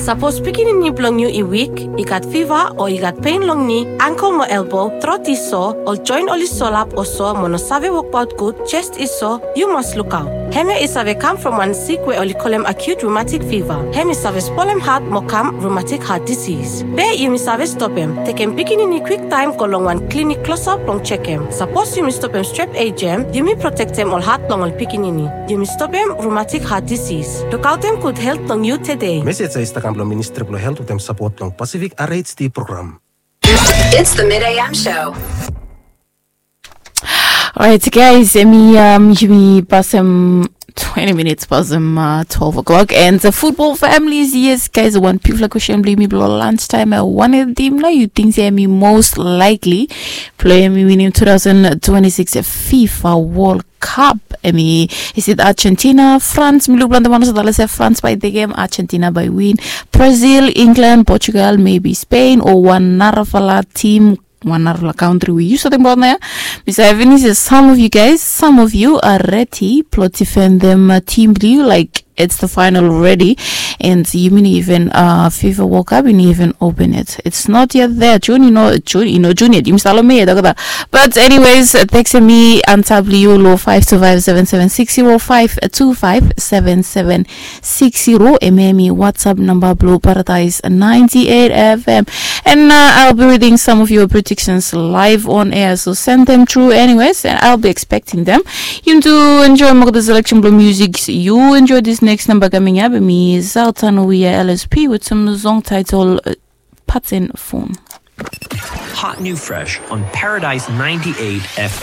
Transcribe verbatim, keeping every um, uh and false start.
Sapos pikinini blong yu i wik, i gat fiva o i gat pen long ni, angkel mo elbo, trot i so, ol joen oli solap o so mo no save wokbaot gud, jes i so, yu mas lukaot. Hemia i save kam from wan sik we oli kolem acute rheumatic fever. Hem i save spolem hat mo kam rheumatic heart disease. Be yumi save stopem. Tekem pikinini kwiktaem go long wan klinik klosap blong jekem. Sapos yumi stopem strep ejem, yumi protektem ol hat blong ol pikinini. Yumi stopem rheumatic heart disease. Lukaotem gud helt blong yu tede. Mesej ya i stap kam blong Ministri blong Helt wetem sapot blong Pacific R H D program. It's the Mid A M show. Alright, guys, hemi um, yumi pasem twenty minutes pasem uh, twelve o'clock. And the football families, yes, guys, wan bigfala question blong yumi blong lunch time. I wanted them now. You think say hemi most likely play hemi winning two thousand twenty-six FIFA World Cup? Hemi, is it Argentina, France? Mi luk blong the one also say France by the game, Argentina by win, Brazil, England, Portugal, maybe Spain, or one narafala team, one narafala country we yu satem about there. Mister Evans says some of you guys, some of you are ready. Plot defend them uh, team blue like it's the final already. And you mean even uh FIFA World Cup, you even open it. It's not yet there. June, you know, June, you know, June yet. You must follow me, doctor. But anyways, uh, text me and tab you low five two five seven seven six zero five two five seven seven six zero. M M E WhatsApp number blue Paradise ninety-eight F M. And uh, I'll be reading some of your predictions live on air. So send them through anyways, and I'll be expecting them. You do enjoy more the selection blue music. You enjoy this next number coming up. Me Zaltan Wia L S P with some song title uh, Pattern Phone. Hot new fresh on Paradise ninety-eight F